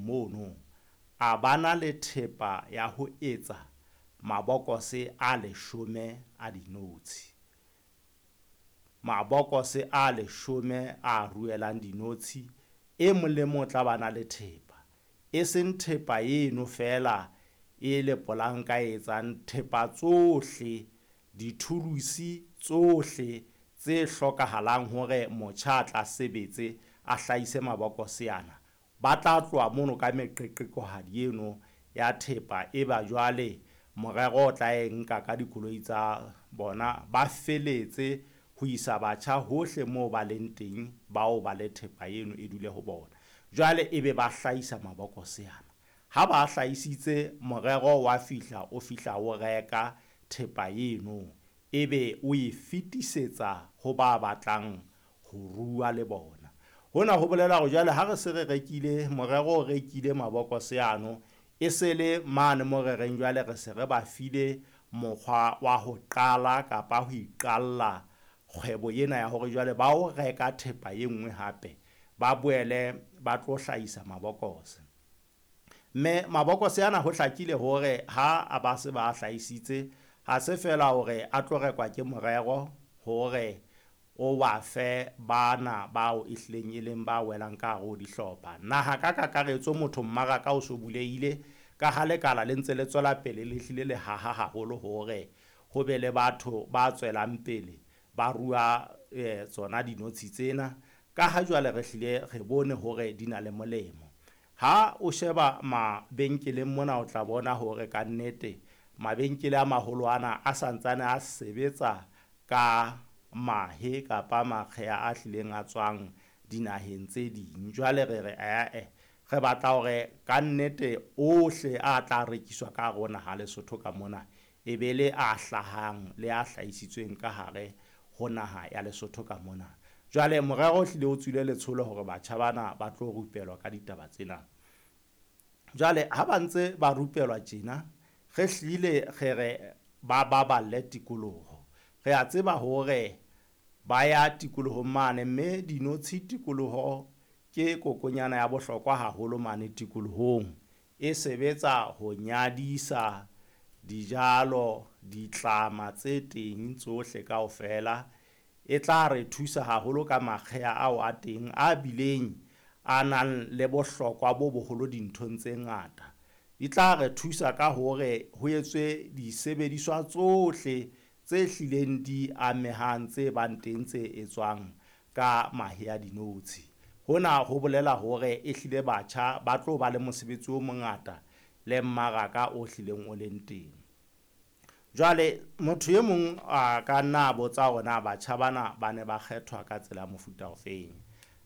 mono, a ba na le thepa ya ho etsa mabokose a 10 a dinotshi. Mabokose a 10 a ruelang dinotshi, e mong le mong o tla ba na le thepa. E seng thepa eno feela e le polanka e etsang thepa tsohle, dithulusi tsohle tse hlokahalang hore motjha a tla sebetse a hlahise mabokose ana. Ba tla tloha mono ka meqeqekohadi eno ya thepa, eba jwale morero o tla e nka ka dikoloi tsa bona, ba feletse ho isa batjha hohle moo ba leng teng, bao ba le thepa eno e dule ho bona. Jwale ebe ba hlahisa mabokose ana. Ha ba hlahisitse, morero wa fihla o fihla o reka thepa eno, ebe o e fetisetsa ho ba batlang ho rua le bona. Hona ho bolela hore jwale ha re se re rekile, morero o rekile mabokose ano, e se le mane mo re reng jwale re se re ba file mokgwa wa ho qala kapa ho iqalla kgwebo ena ya hore jwale ba o reka thepa e nngwe hape, ba boele ba tlo hlahisa mabokose. Mme mabokose ana ho hlakile hore ha a ba se ba hlahisitse, ha se feela hore a tlo rekwa ke morero hore o ba fe bana bao e hlileng e leng ba welang ka hare ho dihlopha. Naha ka kakaretso motho mmaraka o so bulehile ka ha lekala le ntse le tswela pele le hlile le haha haholo hore ho be le batho ba tswelang pele ba rua tsona dinotshi tsena. Ka ha jwale re hlile re bone hore di na le molemo. Ha o sheba mabenkeleng mona o tla bona hore ka nnete mabenkele a maholo ana a santsane a sebetsa ka mahe kapa makgeha a hlileng a tswang dinaheng tse ding. Jwale re re ae, re batla hore ka nnete ohle a tla rekiswa ka hare ho naha Lesotho ka mona e be le a hlahang le a hlahisitsweng ka hare ho naha ya Lesotho ka mona. Jwale morero o hlile o tswile letsholo hore batjha bana ba tlo rupelwa ka ditaba tsena. Jwale ha ba ntse ba rupelwa tjena, re hlile re re ba baballe tikoloho. Re a tseba hore ba ya tikolohong mane, mme dinotshi tikoloho ke kokonyana ya bohlokwa haholo mane tikolohong. E sebetsa ho nyadisa dijalo, ditlama tse teng tsohle kaofela. E tla re thusa haholo ka makgeha ao a teng a bileng a nang le bohlokwa bo boholo dinthong tse ngata. Di tla re thusa ka hore ho etswe disebediswa tsohle tse hlileng di amehang tse bang teng tse etswang ka mahe a dinotshi. Hona ho bolela hore e hlile batjha ba tlo ba le mosebetsi o mongata le mmaraka o hlileng o leng teng. Jwale motho e mong a ka nna a botsa hore na batjha bana ba ne ba kgethwa ka tsela ya mofuta ofeng.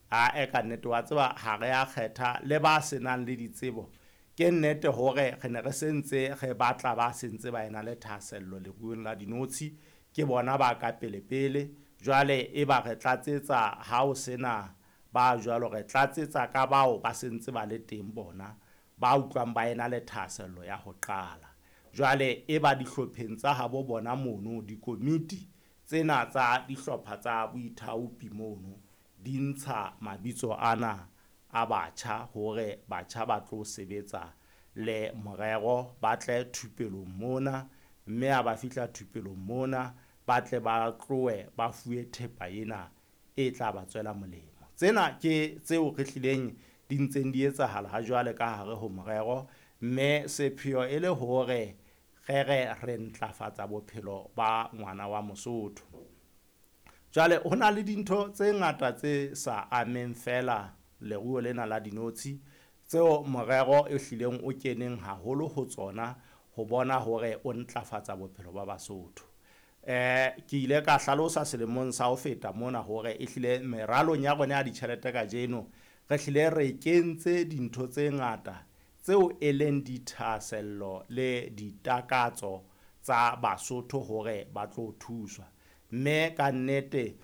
Ae, ka nnete wa tseba ha re a kgetha le ba senang le ditsebo. Ke nnete hore re ne re sentse re batla ba sentse ba ena le thahasello leruong la dinotshi, ke bona ba ka pele pele. Jwale e ba re tlatsetsa ha o sena ba jwalo, re tlatsetsa ka bao ba sentse ba le teng bona ba utlwang ba ena le thahasello ya ho qala. Jwale e ba dihlopheng tsa habo bona mono, dikomiti tsena tsa dihlopha tsa boithaopi mono di ntsha mabitso ana a batjha hore batjha ba tlo sebetsa le morero, ba tle thupelong mona, mme ha ba fihla thupelong mona ba tle ba tlohe ba fuwe thepa ena e tla ba tswela molemo. Tsena ke tseo re hlileng di ntseng di etsahala ha jwale ka hare ho morero, mme sepheo e le hore re re re ntlafatsa bophelo ba ngwana wa Mosotho. Jwale ho na le dintho tse ngata tse sa ameng feela leruo lena la dinotshi tseo morero e hlileng o keneng haholo ho tsona ho bona hore o ntlafatsa bophelo ba Basotho. Ke ile ka hlalosa selemong sa ho feta mona hore e hlile meralong ya rona ya ditjhelete kajeno re hlile re kentse dintho tse ngata tseo e leng dithahasello le ditakatso tsa Basotho hore ba tlo thuswa. Mme ka nnete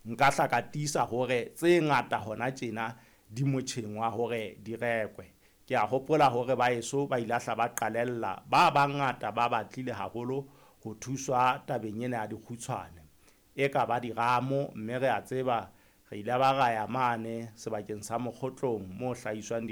nka hla ka tiisa hore tse ngata hona tjena di motjheng wa hore di rekwe. Ke a hopola hore ba eso ba ile hla ba qalella, ba bangata ba batlile haholo ho thuswa tabeng ena ya dikgutshwane. E ka ba diramo, mme re a tseba re ile ba ra ya mane sebakeng sa Mokgotlong mo hlahiswang